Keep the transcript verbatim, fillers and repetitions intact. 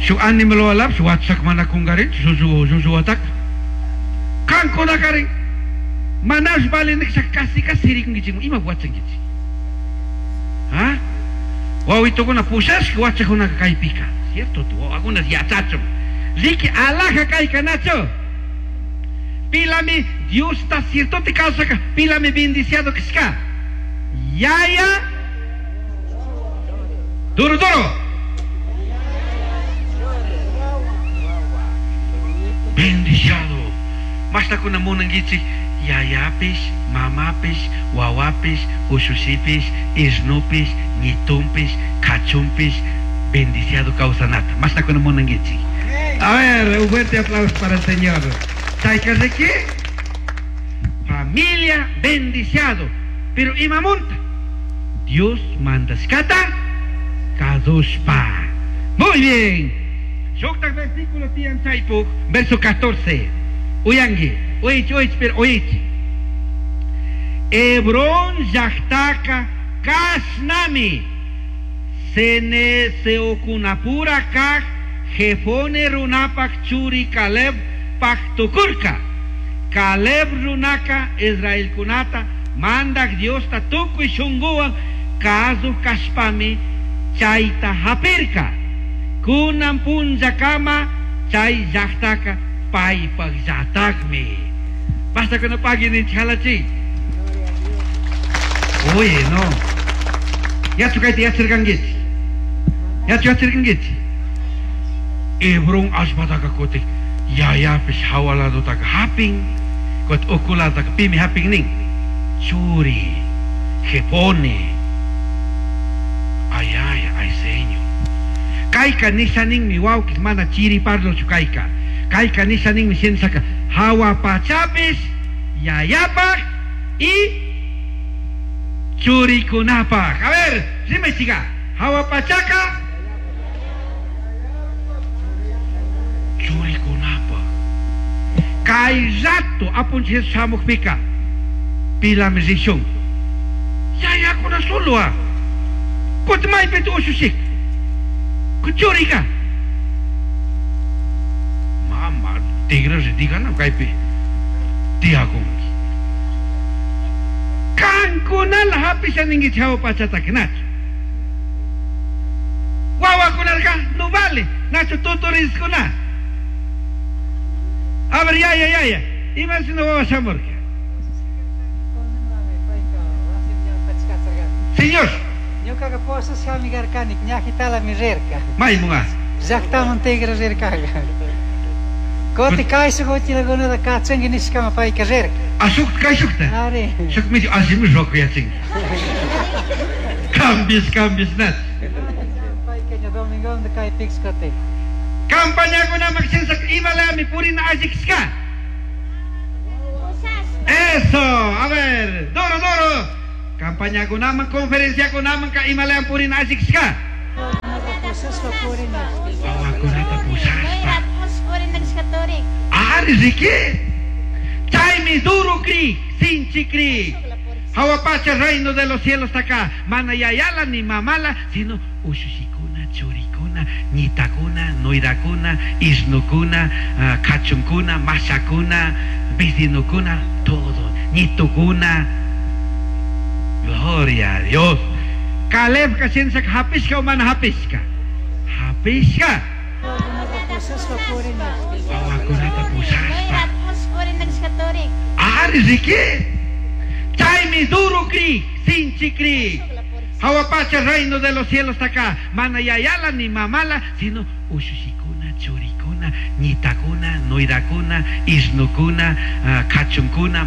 Shuk animal walapish wachak mana kungarinchu llullu llullu wataka. Qankunakarin manash valeniksa casi casi rikunkichik ima wachankichik. ¿Ah? Wawitukuna pushashka wachakunaka kaypika. Cierto, wawakuna yachachun. Riki alhaja kayka nachu. Pilami Diosta ciertote kawsaka, pilami bendiciado kashka. Yaya duro duro. Bendiciado. Mastakuna munankichik yayapish, mamapish, wawapish, ushushipish, isnupish, ñitunpish, kachunpish, bendiciado kawsanata. Mastakuna munankichik. A ver, un fuerte aplauso para el Señor. Chayka riki? Familia bendiciado. Pero imamunta. Dios mandashkata kazushpa. Muy bien. Shuktak versículo tiyan chaypuk, verso catorce. Uyangi, uyich, uyich, pero uyich. Hebrón llaktaka kashnami. Sene seokunapura kak Jefone runapak churi Caleb paktukurka. Caleb runaka Israelkunata mandak Diosta tukuy shunguwan kazuj kashpami chayta hapirka. Kunan punllakama chay llaktaka paypak llatakmi. Basta kuna pagui ninchik halachi. Oye, no. Yachu kayta yacharkankichik. Yachu yacharkankichik. Hebrón allpataka kutin yayapish hawa ladotaka hapin, kutin uku ladotaka pimi hapin nin. Churi, Jefone. Ay, ay, ay, Señor. Kayka nisha ninmi wawkis mana chiri parlochu kayka. Kayka nisha ninmi shinashaka hawa pachapish yayapaj y churikunapaj. A ver, rimaychiga. Hawa pachaka churikunapaj. Kay rato apunchik Jesús shamukpika pilami rishun. Yayakuna solo ah. Kutin maypita ushushik. Churika. Mama, tigra digana kaypi tiyakunki. Kankunala hapisha ninkichik hawa pachataka nachu. Wawakunarka no vale, nachu tutoriskuna. A ver, yaya, yaya. Ima shina wawa shamurka. Señor. Ñukaqa posashkami karkani, ñajitalami rirka. Maymunqa. Llaqtaman tigra rirkaqa. Kuti kayshuk uchilakunata kachanki nishkama payka rirka. Ah, shuk kayshukta? Ari. Shuk medio allimi rukuyachin. Cambios, cambios, nat. Payka ña domingonta kaypiksh kuti. Campañakunaman shinashaka imalami purina allikishka. Eso, a ver, duro, duro. Campañakunaman, conferenciakunaman ka imalayam purina allikishka. Wawakunata pushashpa. Ari riki. Chaymi duro kri, sinchi kri. Hawa pacha reino de los cielos está acá. Mana yayala ni mamala, sino ushushikuna, churikuna, ñitakuna, nuirakuna, isnukuna, uh, kachunkuna, mashakuna, vecinokuna, todo. Ñitukuna. Gloria a Dios. Caleb kashinsak hapishka o mana hapishka. Hapishka. Wawakunata pushashpa. Ari riki. Chaymi duro kri, sinchi kri. Hawa pacha reino de los cielos está acá. Mana yayala ni mamala, sino ushushikuna, churikuna, ñitakuna, nuirakuna, isnukuna, uh, kachunkuna,